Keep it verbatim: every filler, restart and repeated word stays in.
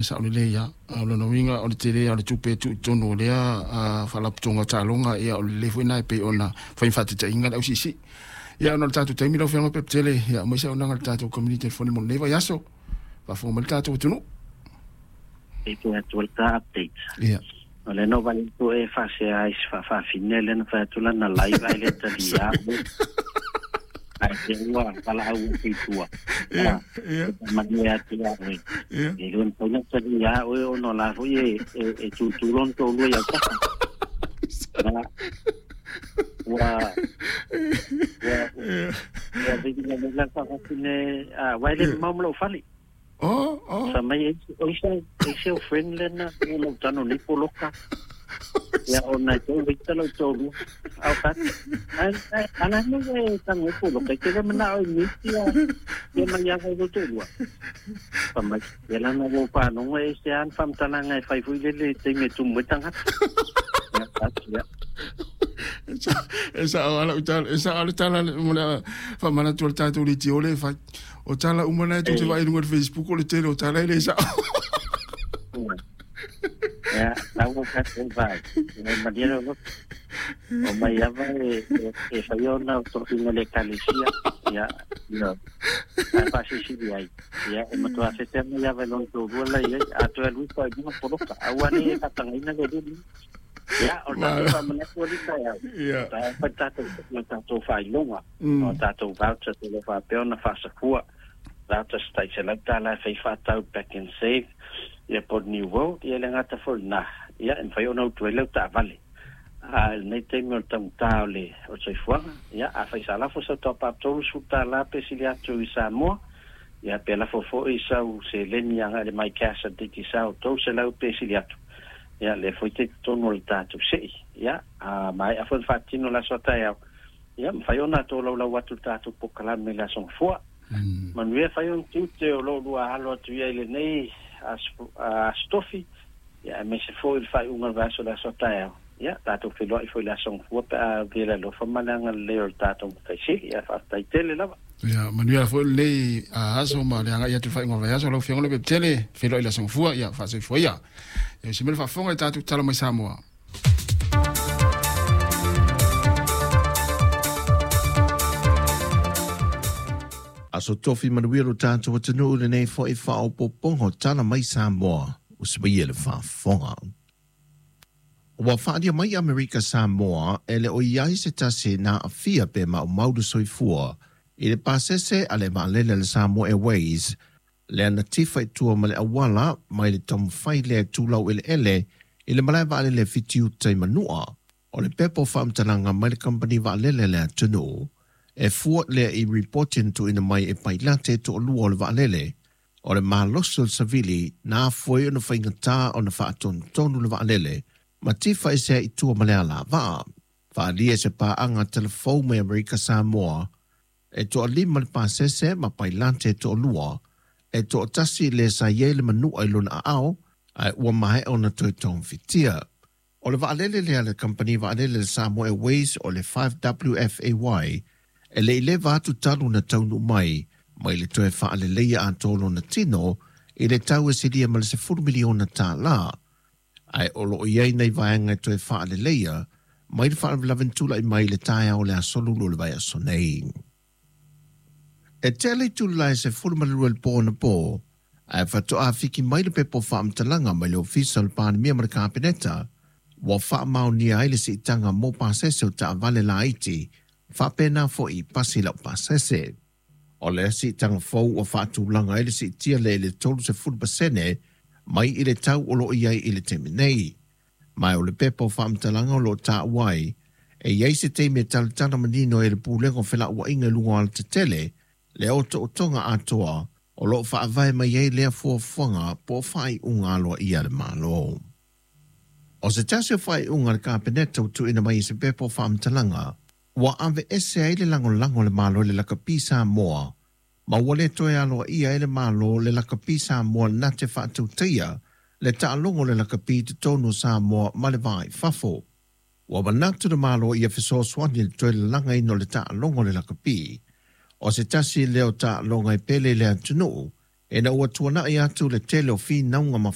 Sa o le ia o lona uiga o le tele o le tupe e tuu i totonu o lea faalapotopotoga taaloga ia o le lelei foi lena e pei ona fai ma faataitaiga le ausiisii. Ia ona o le tatou taimi lau Afioga Pepetele, ia aumai se auaunaga i le tatou community telefoni mo lenei vaiaso. Faafofoga mai le tatou atunuu. E te atu le ta update. Ia. O le no vale tu e faasea ai se faafafine lea na fai atu lana live ai le talia. Ai te ua pala au i tua. Ia, ia. Manu e atu ia oe. Ia. E lua na paina talia oe ono la foi e e tutulon tolu ia taha. Na ua ua ua viki na mela faafafine a wai le mau malo fali. Oh, oh. Sa mai e se e se o friend lena o lau tano ni poloka. Ia o nai tō wita lau tō lua. Au kat. Ana ne e tango e poloka. Te le mana o miti ia ia mai ia vai tō lua. Pa mai. Ia lana o pānonga e se an whamtalanga e whai fui lele te me tumu e tangata. Ia, kat, ia. E sa o ala utala, e sa ala tala mo le whamanatu o le tātou le tio le whai. O tala umana e tū te vai runga Facebook o le tele o tala e le sa. Ia, lau ka te vai. Ia malia o o mai ava e e whai ona o tohinga le kalesia. Ia, ia. Ai pasisi ai. Ia, e matua whete mai ava e lon tō rua lai ai. A toe lui pa i bunga poroka. Aua ne e katangaina le rumi. Ia, o tātou whamanatu o lita iau. Ia. Tā whai tātou, o tātou whailonga. O tātou voucher te le whapeo na whasakua. Voucher stai se lau tāla e whai whātau back and save. Ia po New World, ia le ngata fo nā. Ia, e mwhai ona utu e lau tā vale. A nei teimi o le tangutā o le o le soifuaga. Ia, a whai sa lafo sa tau paptolu su tā lape sili atu i Samoa. Ia, pe lafo fo i sau se leni anga le mai cash a diki sau tau se lau pe sili atu. Ia, le foi te tonu o le tātou sei. Ia, a mai a foi whātino la soa tai au. Ia, mwhai ona tō lau lau atu le tātou pokalame le asong fua. Mm. Manuia whai on tute o lo lua halo atu ia i le nei astofi. Ia, me se foi le whai unga vaso la soa tai au. Ia, tātou whiloa i foi le asong fua pe a vela lofa malanga le o le tātou mataisili. Ia, whaatai tele lava. Ia, manuia foi le aso ma le anga ia tu whai unga vaso lau fiongo le pepetele whiloa i le asong fua, ia, whaasoi fua ia. Ia, se mele whaafonga i tātou tala mai Samoa. Aso tofi manuia lo tātou atunuu lenei foi whaopopongo tala mai Samoa o se mai ele whaafonga. Ua whaaria mai Amerika Samoa e le o iai se tasi nā awhia pe ma o mauru soifua i le pasese a le vaalele le Samoa Airways le ana tifa i tua ma le awala mai le tomfai le tūlau ele ele i le malae vaalele fitiuta i manua o le pepo whaamtalanga mai le kampani vaalele le atunuu. E fua lea i reporting tu ina mai e pailate to o lua o le vaalele o le maloso le savili nā foi ona whaingatā o na whaatonotonu le vaalele ma tifa e sea i tua ma le ala vaa. Whaalia se pāanga telefou mai Amerika Samoa e toa lima le pasese ma pailate to o lua e toa tasi le sa ie le manua i lona aao ai ua mahe ona toe tongfitia. O le vaalele lea le kampani vaalele le Samoa Airways o le five W F A Y e le ileva atu talu na taunu mai, mai le toe whaaleleia a tōlo na tino, i le tau e siria ma le sefulu miliona tā la. Ai o lo iai nei vaenga e toe whaaleleia, mai le whaalavelantula i mai le taia o le asolulu le vai aso nei. E tele tula e se fulu malua le pō na pō, ai whatoa whiki mai le pepo whaamtalanga mai le ofisa o le pānemia ma le kāpeneta, wa whaamaunia ai le siitanga mō pāsese o taavale la iti, whapena fo i pasi lau pasese. O le siitanga fou o whaatulanga i le siitia le le tolu se fulu pasene mai i le tau o lo iai i le temi nei. Mai o le pepo whaamtalanga o lo tā wai, e iai se teime talatala manino e le pūlengo whela ua inga lunga al te tele, le o to tonga atoa, o lo whaavae mai ei lea fuafuanga po whai unga aloa ia le malo. O se tasi o whai unga le kāpeneta o tuina mai i se pepo whaamtalanga, ua ave ese ai le langolango le malo le lakapi Samoa, ma ua le toe aloa ia e le malo le lakapi Samoa na te whaatautia, le taalogo le lakapi te tonu Samoa ma le vai fafo. Ua manatu le malo ia fesoasoani le toe lalaga ino le taalogo le lakapi. O se tasi leo taaloga e pele le atunuu, e na ua tuanai atu le tele o whinauga ma